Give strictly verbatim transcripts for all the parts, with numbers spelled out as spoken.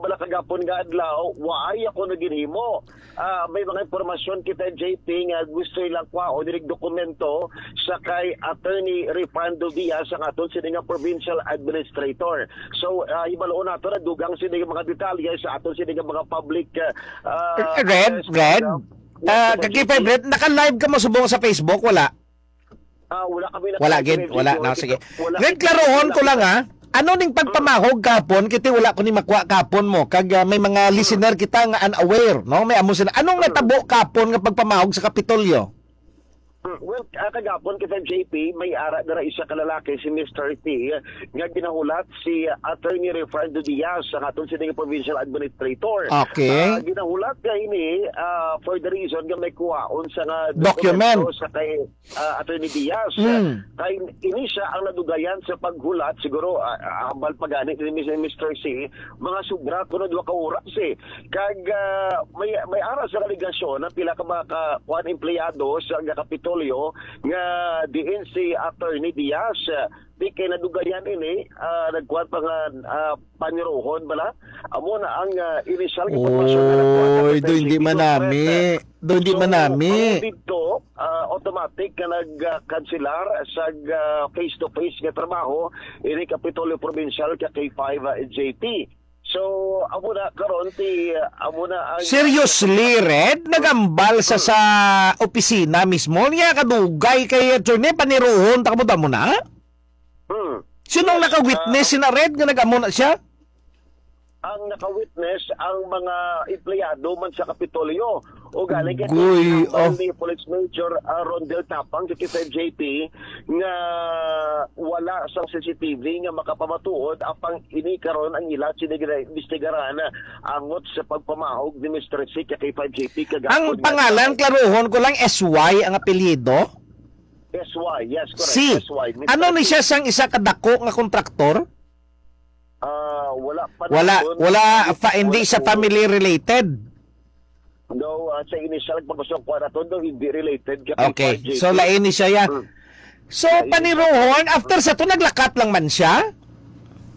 pala kagapon nga adlaw, waay ako na ginhimo. Ah, may mga impormasyon kita, J P, nga gusto nilang kwaon diri dokumento sa kay Attorney Refrando Diaz, ang aton sini nga provincial administrator. So, ah, hibaloon nato na dugang sini nga mga detalye sa aton sini nga mga public, ah, ah, Red, affairs Red? program. Yes, Ah, Sir Kakipay J P. Red, naka-live ka mo subong sa Facebook? Wala. Ah, wala kami na Wala gid, wala. No, sige. Wala Red, kami klarohon wala ko lang, kita. ah. Ano ning Mm. pagpamahog kapon? Kiti wala ko ni makuha kapon mo. Kag, ah, may mga Mm. listener kita nga unaware, no? May amo sila. Anong Mm. natabo kapon nga pagpamahog sa Kapitolyo? Mm. Well, ah, kagapon kita, J P, may ara dira isa ka lalaki, si Mister T, nga ginahulat si Attorney Refrando Diaz sa aton sini nga provincial administrator. Okay. Ah, ginahulat niya ini, ah, for the reason nga may kuhaon sa nga Document. dokumento sa kay ah, Attorney Diaz. Mm. Kay ini siya ang nadugayan sa paghulat, siguro, ah, ah, hambal pa gani ni Mis-, Mister C, mga sobra kuno duha ka oras, eh. Kag, ah, may, may ara sa alegasyon na pila ka mga ka-, kuan, empleyado sa Kapitolyo nga diin si Attorney Diaz, ah, di kay nadugayan ini, ah, nagkuan pa nga, ah, paniruhon bala. Amo na ang, ah, inisyal nga impormasyon nga nakuha sa Oy, do hindi P N P man nami. Conference. Do hindi So, man nami. Ang dito, ah, automatic nga nag-kanselar sa, ah, face-to-face nga trabaho ini Kapitolyo Provincial ka K five, ah, J P. So, amo na karon ti, amo na ang Seriously, Red? Nagambal sa, Hmm. sa opisina mismo? Niya kadugay kay attorney, paniruhon, ta kamo damo na? Hmm. Sinong Yes, naka-witness ah, sina Red nga nag-amo na siya? Ang naka-witness ang mga empleyado man sa Kapitolyo. O gani kay Guy, hambal oh. ni Police Major, ah, Rondel Tapang sa K five J P nga wala sang C C T V nga makapamatuod, apang ini karon ang ila sini ginaimbestigaran angot sa pagpamahog ni Mister C ka K five J P kagahapon Ang nga pangalan, adlaw. klaruhon ko lang, S Y ang apelyido? S Y, yes, correct. Si, S Y, Mister ano ni C. siya sang isa ka dako nga kontraktor? Ah, wala pa Wala, naton wala, pa, hindi hindi pa siya naton family related. No, ah, sa initial, pag gusto ko naton, no, hindi related ka Okay, K five J P. so lain ni siya, ya. Hmm. So, Lain ni siya. paniruhon, after sa to, naglakat lang man siya?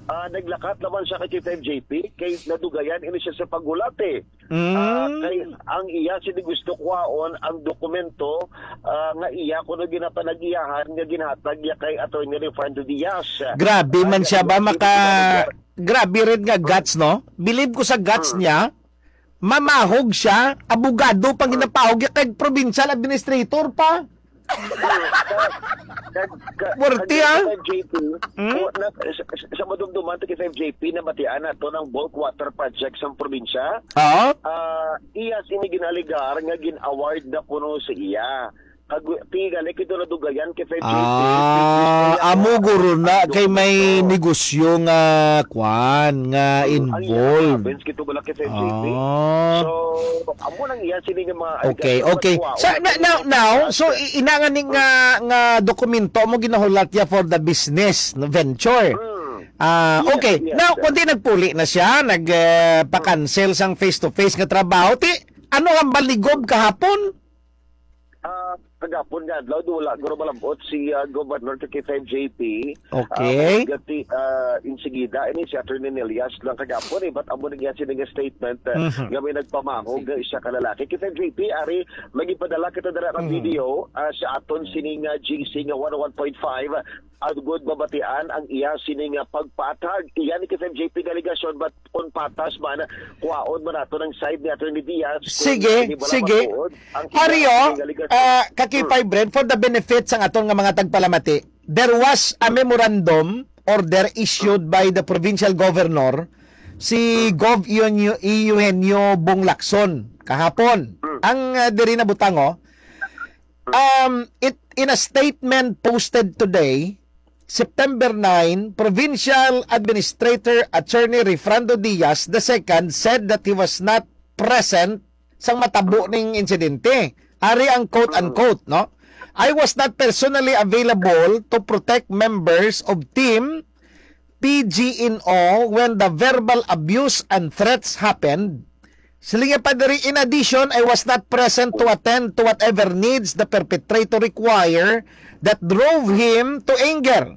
Ah, naglakat naman siya kay K five J P, kay nadugayan ini siya sa paghulat, eh. Ah, Mm. kay ang iya sini gusto kuhaon ang dokumento, ah, nga iya kuno ginapanag-iyahan nga ginhatag niya kay Attorney Refrando Diaz. Grabe Ah, man siya ba iya maka-, sini ginapanag-iyahan. grabe rin nga guts, no? Believe ko sa guts Hmm. niya, mamahog siya, abogado pang Hmm. ginapahog niya kay provincial administrator pa. Ka-, ka-, Worthy, ka-, ah. K five J P, Hmm? o, na, sa, sa, sa madumduman to K five J P, nabatian nato ng bulk water project sa probinsya. Oo. Ah, iya sini ginaligar nga gin-award na kuno sa iya. Kag, ti, gali kito nadugayan kay K five J P, Ah, kay K five J P, amo guro na ang kay may dokumento. negosyo nga kwan, nga Hmm, ang iya involved. province, kito wala kay K five J P. Ah. So, amo nang iya sini nga mga Okay, allegation, okay. but wow, Sa, na, now, now, so, i-, ina nga ni nga, nga dokumento mo ginahulat ya for the business, no, venture. Hmm. Ah, Yes, okay. yes, Now, sir. kundi nagpuli na siya, nag, eh, pa-cancel sang face-to-face nga trabaho. Ti, ano ang baligob kahapon? Ah, kagapon nga adlaw, do wala guro malabot si, ah, Governor K five J P. Okay. Ah, gati, ah, insigida, ini si Attorney Nelias lang kagapon, eh, but amo na niya sini nga statement, ah, Mhm. nga may nagpamahog Sige. nga isa ka lalaki. K five J P, ari, magipadala kita dira ng Mhm. video, ah, sa aton Mhm. sini nga G C nga one oh one point five, agud mabatian ang iya sini nga pagpaathag. Iya ni K five J P nga alegasyon, but kung patas man, kuhaon man nato ng side ni Attorney Diaz, kung Sige, hindi ba sige. matuod ang iya Ario, sini nga alegasyon. ah, ka K five Hmm. Red, for the benefit sang aton nga mga tagpalamati, there was a memorandum order issued by the provincial governor, si Hmm. Gov Eugenio, Eugenio Bong Lacson, kahapon. Hmm. Ang, ah, diri na butang, oh, Um, it, in a statement posted today, September nine, Provincial Administrator Attorney Refrando Diaz the second said that he was not present sang matabo ning insidente. Ari ang quote-unquote, no? "I was not personally available to protect members of team P G N O when the verbal abuse and threats happened." Siling niya pa diri, "In addition, I was not present to attend to whatever needs the perpetrator require that drove him to anger.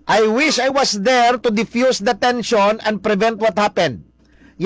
I wish I was there to diffuse the tension and prevent what happened."